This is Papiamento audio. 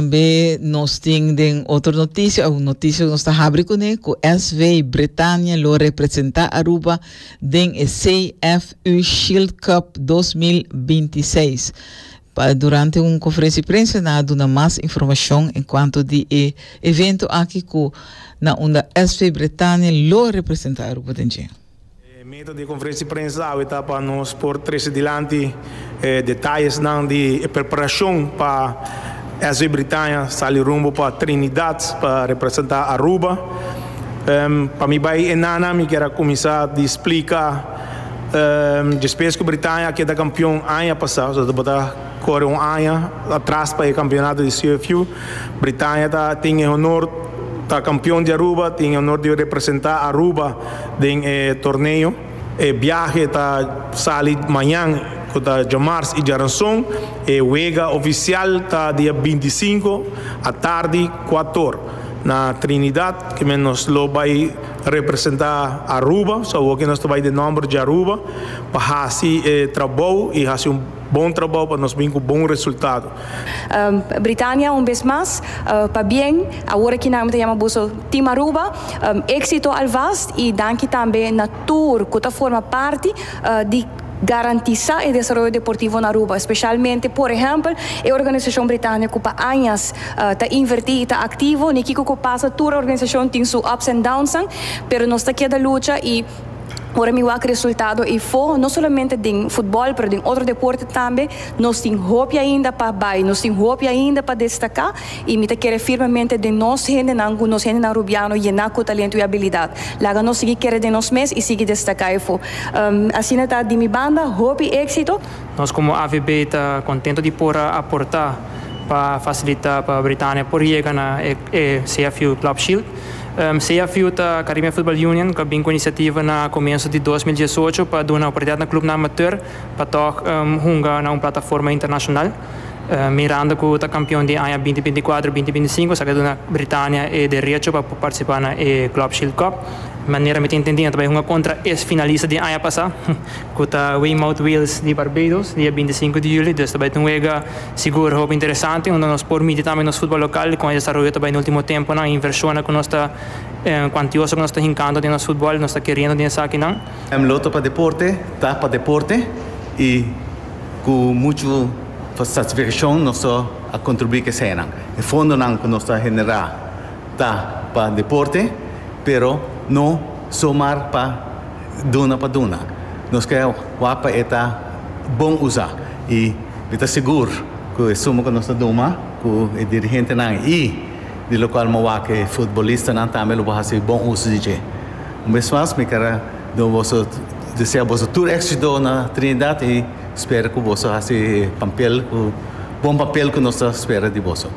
Tambe nos tin den otro noticia, un noticia cu nos ta habri cune, cu SV Bretania lo representa Aruba den e CFU Shield Cup 2026. Pa durante un conferencia di prensa nan a duna mas informacion en cuanto di e evento aki cu na unda SV Bretania lo representa Aruba den dje. E meta di e konferensia di prensa awe ta pa nos por trese dilanti e detayesnan di e preparashon pa SV Britania sali rumbo pa Trinidad pa representá Aruba. Pa mi bai e nana mi kier a kuminsá di splika despues ku Britania a keda kampion aña pasá, so tabata kore un aña atras pa e kampeonato di CFU. Britania ta tin e honor ta kampion di Aruba, tin e honor di representá Aruba den e torneo. E biahe ta sali mañan ku ta djamars i djaranson. E wega ofisial ta dia bintisinko atardi kuator na Trinidad. Kimen nos lo bai representá Aruba, so awoki nos ta bai den nòmber di Aruba pa hasi e trabou i hasi un bon trabou pa nos bin ku bon resultado. Britania un bes mas pabien awor aki nan mi ta yama boso Team Aruba exito alvast y danki tambe na tur cu ta forma parti di garantisa e desaroyo deportivo na Aruba especialmente por ehempel e organisacion Britania cu pa añas ta inverti y ta activo ni kico cu pasa tur organisacion tin su ups and downs pero nos ta keda lucha y Ora mi wak resultado eyfo, no solamente den futbol pero den otro deporte tambe, nos tin hopi ainda pa bay, nos tin hopi ainda pa destaca y mi ta kere firmemente den nos hendenan cu nos hendenan Rubiano yena cu talento y habilidad. Laga nos sigui kere den nos mes y sigui destaca eyfo. Asina ta di mi banda, hopi exito. Nos como AVB ta contento di por a aporta pa facilita pa Britania por yega na e CFU Club Shield. CFU ta Caribbean Football Union ku a bin ku inisiativa na komienso di 2018 pa duna oportunidat na klupnan amateur pa tòg hunga na un plataforma internashonal. Mirando ku ta kampion di aña 2024, 2025 esaki a duna Britania e derecho pa por partisipá na e Club Shield Cup. Manera mi ta intendí nan ta bai hunga kontra e finalista di aña pasá ku ta Weymouth Wheels di Barbados dia 25 di yüli. Dus ta bai ta un wega Sigur hopi interesante unda nos por midi tambe nos futbol lokal kon e desaroyo ta bai den ultimo temponan, e invershonnan ku nos ta kuantioso ku nos ta hinkando den nos futbol, nos ta keriendo den esakinan. Lotto pa Deporte ta pa deporte y cu mucho satisfaccion nos ta a contribui cu eseinan. E fondonan cu nos ta genera ta pa deporte pero no somar pa duna pa duna. Nos ke wak pa e ta bon usa y mi ta sigur ku e suma ku nos ta duma ku e dirigentenan y di lokual mi wak e futbolistanan tambe lo por hasi bon uso di dje. Un bes mas mi ker a duna boso desea boso tur éxito na Trinidad y spera ku boso hasi e pampel ku bon papel ku nos ta spera di boso.